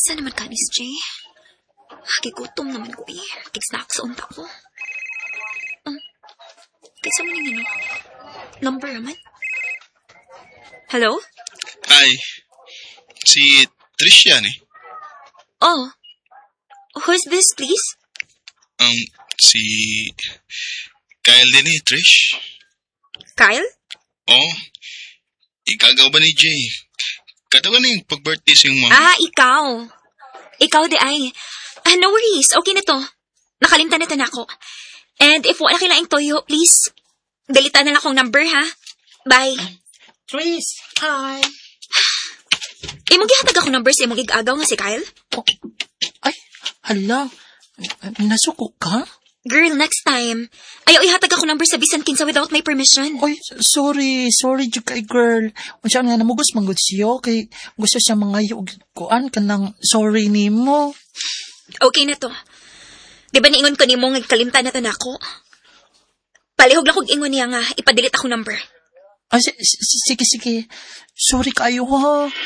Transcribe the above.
Asa naman ka ni Jay? Gigutom naman ko eh. Kig-snacks unta ko. Kinsa man yung ano? Number naman? Hello? Ay, si Trish yan eh. Oh. Who's this, please? Si Kyle din eh, Trish. Kyle? Oh, ig-agaw ba ni Jay? Kato ganing pag-birthday sa iyong mama. Ah, ikaw. Ikaw diay. Ah, no worries. Okay na to. Nakalimtan na to nako. And if wala kailangang toyo, please, delete na lang akong number, ha? Bye. Tris, hi. Imong gihatag ako number sa imong ig-agaw nga si Kyle? Oh, ay, hala. Nasuko ka? Girl, next time. Ayaw ihatag ako number sa bisan kinsa without my permission. Oy, sorry, sorry jud kay girl. Unsa nga namugos man gud siya kay gusto siya mga og kuan kanang sorry nimo. Okay na to. Di ba niingon ko nimo nga kalimtan na to nako? Palihog lang kog ingon niya nga ipa-delete ako number. Ay, sige, sige. Sorry kayo ha.